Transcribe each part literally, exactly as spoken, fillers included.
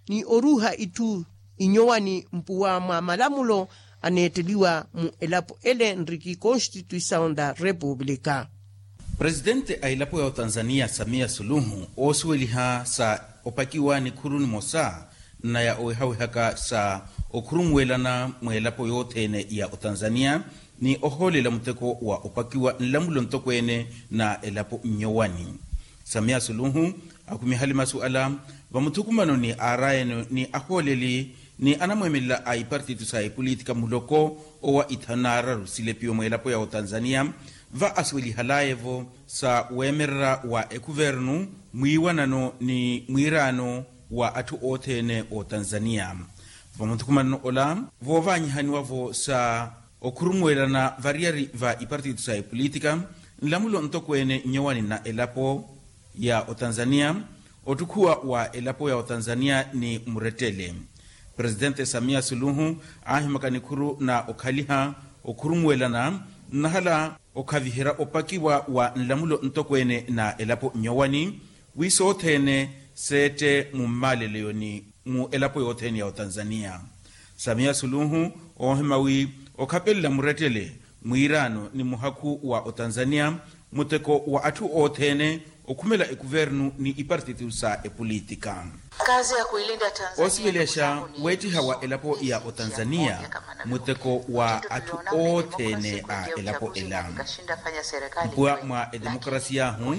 ni oruuha itthu inyowani mpuwa mwa malamulo aneetteliwa mu elapo ele nriki constituisaw nda repupulika. Presitente a elapo ya otanzaniya samiya suluhu oosuweliha sa opakiwa nikhuru nimosa nna ya owehawehaka sa okhurumuwelana mweelapo yothene ya otanzaniya ni ohoolela muteko wa opakiwa nlamulo ntokweene na elapo nnyowani. Samiya suluhu akhumihale masu ala vamuthukumano ni aarayeno ni ahooleli ni anamweemelela a ipartito sa epolitika muloko owa ithanu naararu silepiwe mweelapo ya otanzaniya va asuwelihalaye-vo sa weemererya wa ekhuvernu mwiiwanano ni mwiiraano wa atthu othene otanzaniya. Vamuthukumanano ola voovaanyihaniwa-vo sa okhurumuwelana variyari va ipartito sa epolitika nlamulo ntokweene nnyowani na elapo ya otanzaniya ottukhuwa wa elapo ya otanzaniya ni murettele. Presitente samiya suluhu aahimaka nikhuru na okhaliha okhurumuwelana nnahala okhaviherya opakiwa wa nlamulo ntokweene na elapo nnyowani wi sothene seette mummaleleyoni mu elapo yothene ya otanzaniya. Samiya suluhu oohima wi okhapelela murettele mwiiraano ni muhakhu wa otanzaniya muteko wa atthu othene okhumela ekuvernu ni ipartito sa epolitika. Oosivelexa weettiha wa elapo ya otanzaniya muteko wa atthu othene a elapo ela. Mpuwa mwa etemokarasi yaahu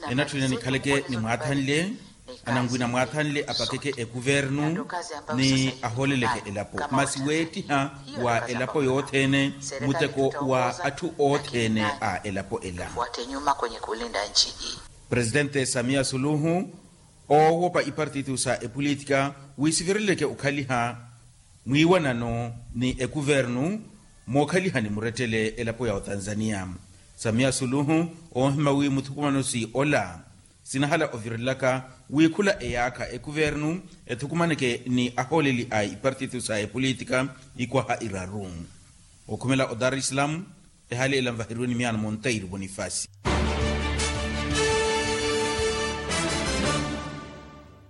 enatthuna nikhaleke ni mwaathanle ananwina mwaathanle apakeke ekuvernu ni ahooleleke elapo masi weettiha wa elapo yothene muteko wa atthu othene a elapo ela. Presitente samiya suluhu oowopa ipartito sa epolitika wisivireleke okhaliha mwiiwanano ni ekuvernu mookhalihani murettele elapo ya otanzaniya. Samiya suluhu oohima wi muthukumano si ola sinahala ovirelelaka wi khula eyaakha ekuvernu ethukumaneke ni ahooleli a ipartito sa epolitika ikwaha iraru. Okhumela odarislam ehali ela nvaheriwe ni miyaano monteiro bonifasi.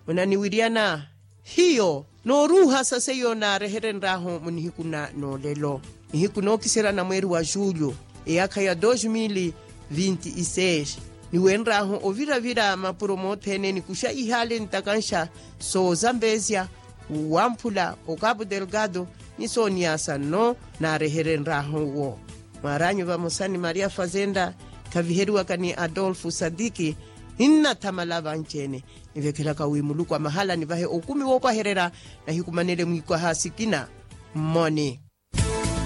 Munaniwiryana hiyo nooruuha sa seiyo naareherenryahu munihiku na noolelo nihiku nookiserya na mweeri wa julyo eyaakha ya dos mil vinti iseis. Niwenryahu oviravira mapuro mothene nikuxa ihaale ntakanxa soozambezya wamphula okapu delgado ni sooniyaasa nno naareherenryahu wo. Mwaranyu vamosa ni maria fazenda khaviheriwaka ni adolfu sadiki. Ninnathamala vanci-ene nivekhelaka wi muluku a mahala nivahe okumi woopwahererya nahikumanele mwiikwaha sikina mmoni.